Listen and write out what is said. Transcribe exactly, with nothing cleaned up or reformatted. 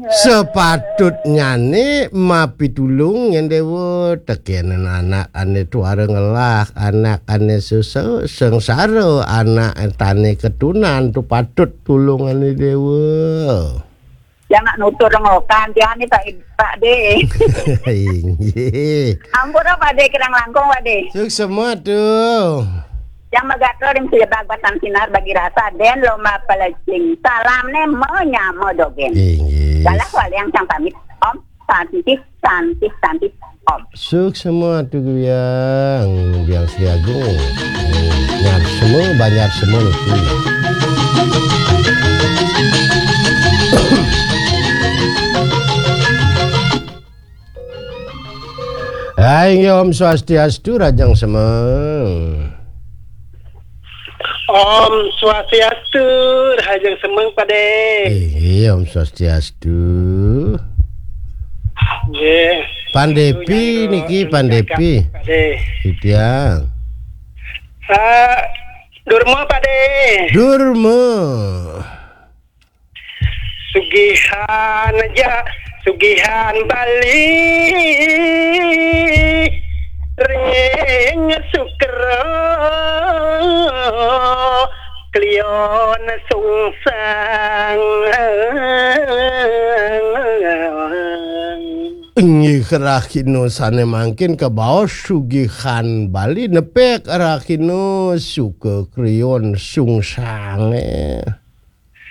Sepatutnyane mapitulung, nyen Dewa, tekenen anak ane tuara ngelah, anak ane susah, sengsara, anak tane ketunan, tu patut tulungane Dewa. Jangan nutur ngokan, tiang ni Pak, Pak De. Inggih. Ampun, Pak De, kirang langkung, Pak De. Suksma tu. Yang megatra ring sida bag batan sinar bagi rasa, den lomba pelecing. Salam ne menyama dogen. Inggih. Galah waliang sang pamit. Om Santi, Santi, Santi, Om. Suksma tu Biang, Biang Sri Agung. Nyar semua, banyak semua itu. Hai, inggih, Om Swastiastu, Rajang Semeng. Om Swastiastu, Rajang Semeng, Pak De. Inggih, Om Swastiastu. Nggih. Pandepi niki, Pandepi. Pak De. Titiang. Ah, Durma, Pak De. Durma. Sugihan aja, sugihan Bali ring Sukra Klion Sungsang. Inggih rahina sane mangkin kabaos sugihan Bali nepek rahina suka kriyon sungsange.